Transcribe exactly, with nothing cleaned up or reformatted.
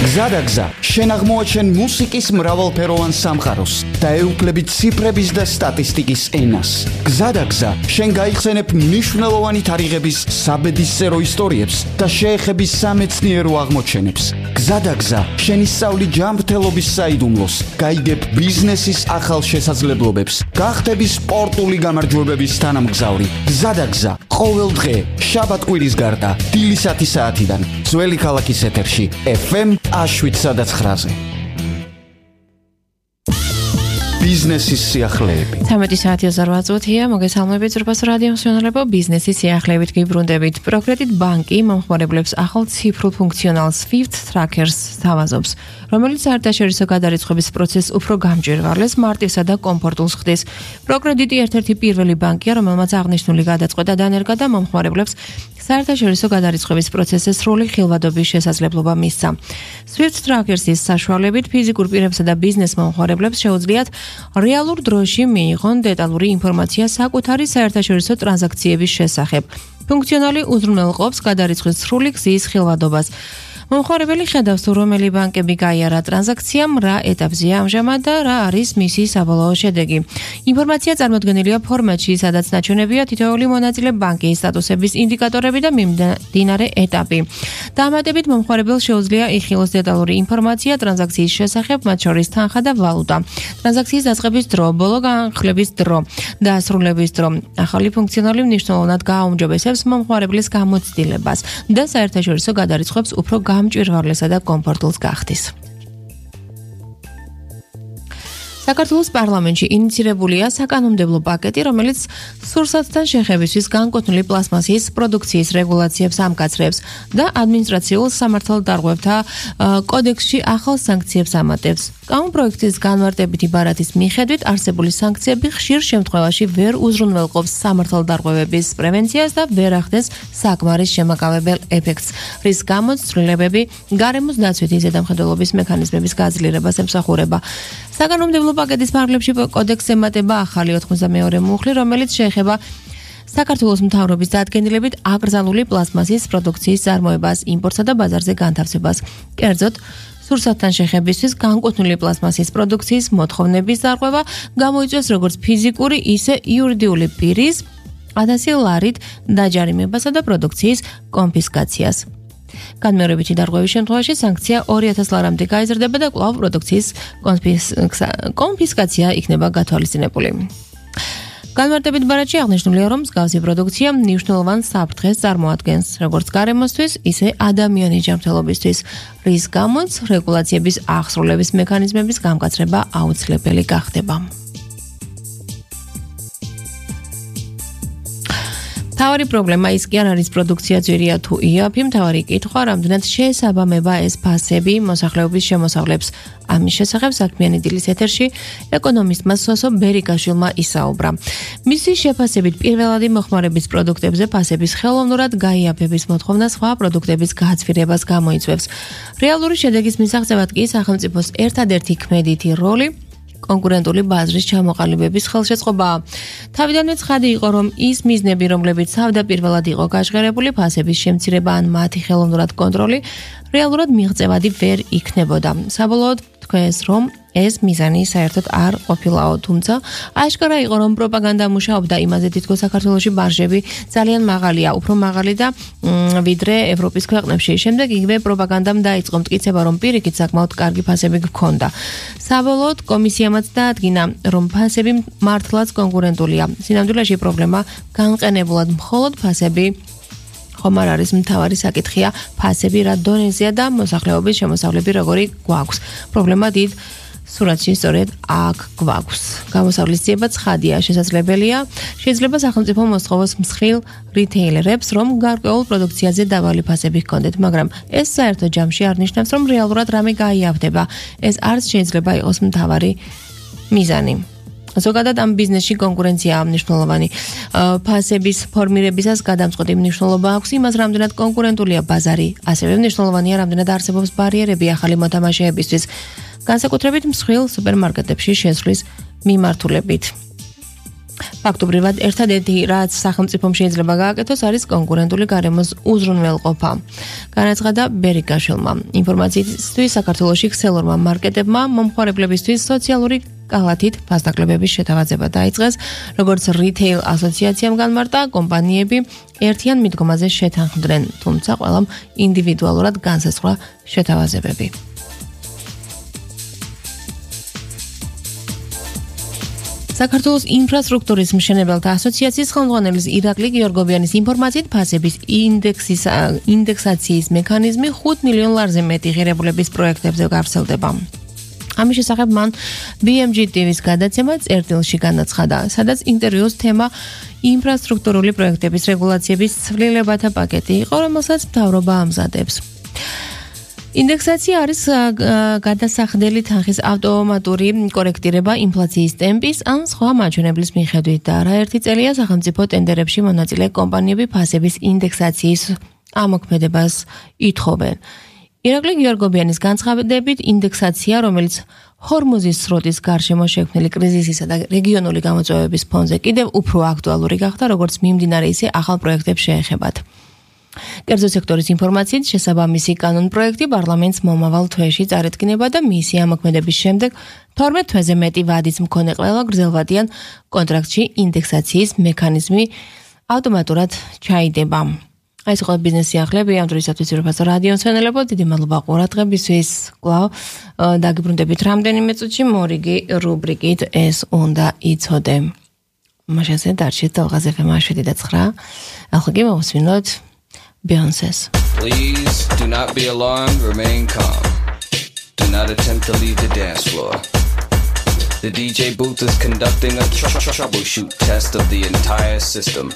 გზადაგზა, შენ აღმოაჩენ მუსიკის მრავალფეროვან სამყაროს და ეუფლებით ციფრების და სტატისტიკის ენას. გზადაგზა, შენ გაიხსენებ მნიშვნელოვანი თარიღების საბედისწერო ისტორიებს და შეეხები სამეცნიერო აღმოჩენებს. გზადაგზა, შენ ისწავლი ჯანმრთელობის საიდუმლოს, გაიგებ ბიზნესის ახალ შესაძლებლობებს, გახდები სპორტული გამარჯვებების თანამგზავრი. გზადაგზა, ყოველ დღე, შაბათ-კვირის გარდა, დილისათი საათიდან, ძველი ქალაქის ეთერში, ეფ ემ შვიდსა და ცხრაზე. ბიზნესის სიახლეები. თერთმეტი საათი ოცდაოთხ მინუტია. მოგესალმებით ზრბას რადიო მსმენელებო, ბიზნესის სიახლეებით გიბრუნდებით. პროკრედიტ ბანკი მომხმარებლებს ახალ ციფრულ ფუნქციონალ Swift Trackers სთავაზობს, რომელიც საერთაშორისო გადარიცხვის პროცესს უფრო გამჭვირვალეს, მარტივსა და კომფორტულს ხდის. პროკრედიტი ერთ-ერთი პირველი ბანკია, რომელმაც აღნიშნული გადაწყვეტა დანერგა და მომხმარებლებს საერთაშორისო გადარიცხვის პროცესის სრული ხილვადობის შესაძლებლობა მისცა. Swift Trackers-ის საშუალებით ფიზიკურ პირებსა და ბიზნეს მომხმარებლებს შეუძლიათ რეალურ დროში მიიღონ დეტალური ინფორმაცია საკუთარი საერთაშორისო ტრანზაქციების შესახებ. ფუნქციონალი უზრუნველყოფს გადარიცხვის სრული გზის ხილვადობას. მომხმარებელი ხედავს, თუ რომელი ბანკები გაიარა ტრანზაქციამ, რა ეტაპზეა ამჟამად და რა არის მისი საბოლოო შედეგი. ინფორმაცია წარმოდგენილია ფორმატში, სადაც ნაჩვენებია თითოეული მონაწილე ბანკის სტატუსების ინდიკატორები და მიმდინარე ეტაპი. დამატებით მომხმარებელს შეუძლია იხილოს დეტალური ინფორმაცია ტრანზაქციის შესახებ, მათ შორის თანხა და ვალუტა, ტრანზაქციის დაწყების დრო, ბოლო განხილვის დრო და დასრულების დრო. ახალი ფუნქციონალი მნიშვნელოვნად გააუმჯობესებს მომხმარებლის გამოცდილებას და საერთაშორისო გადარიცხვებს უფრო გამჭვირვალესა და კომფორტულს გახდის. საქართველოს პარლამენტში ინიცირებულია საკანონმდებლო პაკეტი, რომელიც სურსათთან შეხებისთვის განკუთვნილი პლასმასის პროდუქციის რეგულაციებს ამკაცრებს და ადმინისტრაციულ სამართალდარღვევთა კოდექსში ახალ სანქციებს ამატებს. კანონპროექტის განმარტებითი ბარათის მიხედვით არსებული სანქციები ხშირ შემთხვევაში ვერ უზრუნველყოფს სამართალდარღვევების პრევენციას და ვერ ახდენს საკმარის შემაკავებელ ეფექტს, რის გამოც ცვლილებები გარემოს დაცვითი ზედამხედველობის მექანიზმების გაძლიერებას ემსახურება. საკანონმდებლო პაკეტის ფარგლებში კოდექსს ემატება ახალი ოთხმოცდამეორე მუხლი, რომელიც შეეხება საქართველოს მთავრობის დადგენილებით აკრძალული პლასმასის პროდუქციის წარმოებას, იმპორტსა და ბაზარზე განთავსებას. კერძოდ, სურსათთან შეხებისთვის განკუთვნილი პლასმასის პროდუქციის მოთხოვნების დარღვევა გამოიწვევს როგორც ფიზიკური, ისე იურიდიული პირის ათასი ლარით დაჯარიმებასა და პროდუქციის კონფისკაციას. განმეორებითი დარღვევის შემთხვევაში სანქცია ორი ათასი ლარამდე გაიზრდება და კვლავ პროდუქციის კონფისკაცია იქნება გათვალისწინებული. განმარტებით ბარათში აღნიშნულია, რომ მსგავსი პროდუქცია მნიშვნელოვან საფრთხეს წარმოადგენს, როგორც გარემოსთვის, ისე ადამიანის ჯანმრთელობისთვის, რის გამოც რეგულაციების აღსრულების მექანიზმების გამკაცრება აუცილებელი გახდება. მთავარი პრობლემა ის კი არ არის პროდუქცია ძვირია თუ იაფი, მთავარი კითხვა, რამდენად შეესაბამება ეს ფასები მოსახლეობის შემოსავლებს. ამის შესახებ საქმიანი დილის ეთერში ეკონომისტმა სოსო ბერიკაშვილმა ისაუბრა. მისი შეფასებით პირველადი მოხმარების პროდუქტებზე ფასების ხელოვნურად გაიაფების მოთხოვნა სხვა პროდუქტების გააცვირებას გამოიწვევს. რეალური შედეგის მისაღწევად კი სახელმწიფოს ერთადერთი ქმედითი როლი კონკურენტული ბაზრის ჩამოყალიბების ხელშეწყობაა. თავიდანვე ცხადი იყო, რომ ის მიზნები, რომლებიც თავდაპირველად იყო გაჟღერებული, ფასების შემცირება ან მათი ხელოვნურად კონტროლი, რეალურად მიღწევადი ვერ იქნებოდა. საბოლოოდ თქვენს, რომ ეს მიზანი საერთოდ არ ყოფილაო, თუმცა აშკარა იყო, რომ პროპაგანდა მუშაობდა იმაზე, თითქოს საქართველოში მარჟები ძალიან მაღალია, უფრო მაღალი და ვიდრე ევროპის ქვეყნებში. შემდეგ იგივე პროპაგანდამ დაიწყო მტკიცება, რომ პირიქით საკმაოდ კარგი ფასები გქონდა. საბოლოოდ კომისიამაც დაადგინა, რომ ფასები მართლაც კონკურენტულია. სინამდვილეში პრობლემა განყენებულად მხოლოდ ფასები ხომ არ არის მთავარი საკითხია, ფასები რა დონეზეა და მოსახლეობის შემოსავლები როგორი გვაქვს. პრობლემა დიდ სურათში სწორედ აქ გვაქვს. გამოსავლის ძიება ცხადია, შესაძლებელია, შეიძლება სახელმწიფო მოსთხოვოს მსხვილ რიტეილერებს, რომ გარკვეულ პროდუქციაზე დაბალი ფასები ჰქონდეთ, მაგრამ ეს საერთო ჯამში არ ნიშნავს, რომ რეალურად რამე გაიავდება. ეს არც შეიძლება იყოს მთავარი მიზანი. ზოგადად ამ ბიზნესში კონკურენცია მნიშვნელოვანი. ფასების ფორმირებისას გადამწყვეტი მნიშვნელობა აქვს იმას, რამდენად კონკურენტულია ბაზარი, ასევე მნიშვნელოვანია, რამდენად არსებობს ბარიერები ახალი ფაქტობრივად ერთადერთი რაც სახელმწიფომ შეიძლება გააკეთოს არის კონკურენტული გარემოს უზრუნველყოფა. განაცხადა ბერიკაშვილმა. ინფორმაციისთვის საქართველოში ქსელურმა მარკეტებმა მომხმარებლებისთვის სოციალური კალათით ფასდაკლებების შეთავაზება დაიწყეს, როგორც რითეილ ასოციაციამ განმარტა, კომპანიები ერთიან მიდგომაზე შეთანხმდნენ, თუმცა ყველამ ინდივიდუალურად განსაზღვრა შეთავაზებები. საქართველოს ინფრასტრუქტურის მშენებელთა ასოციაციის ხელმძღვანელის ირაკლი გიორგობიანის ინფორმაციით ფასების ინდექსის ინდექსაციის მექანიზმი ხუთ მილიონ ლარზე მეტი ღირებულების პროექტებზე გავრცელდება. ამის შესახებ მან ბი ემ ჯი ტი ვის გადაცემა წერტილში განაცხადა, სადაც ინტერვიუს თემა ინფრასტრუქტურული პროექტების რეგულაციების ცვლილებათა პაკეტი იყო, რომელსაც მთავრობა ამზადებს. ინდექსაცია არის გადასახდელი თანხის ავტომატური კორექტირება ინფლაციის ტემპის ან სხვა მაჩვენებლის მიხედვით და არაერთი წელია სახელმწიფო ტენდერებში მონაწილე კომპანიები ფასების ინდექსაციის ამოქმედებას ითხოვენ. ირაკლი გიორგობიანის განცხადებით, ინდექსაცია, რომელიც ჰორმუზის სრუტის გარშემო შექმნილი კრიზისისა და რეგიონული გამოწვევების ფონზე კიდევ უფრო აქტუალური გახდა, როგორც მიმდინარე ისე ახალ პროექტებს შეეხებათ. კერძო სექტორის ინფორმაციით, შესაბამისი კანონ-პროექტი პარლამენტს მომავალ თვეში წარედგინება და მისი ამოქმედების შემდეგ თორმეტ თვეზე მეტი ვადის მქონე ყველა გრძელვადიან კონტრაქტში ინდექსაციის მექანიზმი ავტომატურად ჩაიდება. ეს იყო ბიზნეს სიახლეები, ამ დროისათვის ვირფასო რადიო მცენელებო, დიდი მადლობა ყურადღებისთვის. კვლავ დაგიბრუნდებით რამდენიმე წუთში მორიგი რუბრიკით ეს უნდა იცოდე. მაშასე დარჩით ალღაზ ეფ ემ შვიდი და ცხრა. ახლა კი მოვუსმინოთ Beyoncé's. Please do not be alarmed, remain calm. Do not attempt to leave the dance floor. The D J booth is conducting a tr- tr- troubleshoot test of the entire system.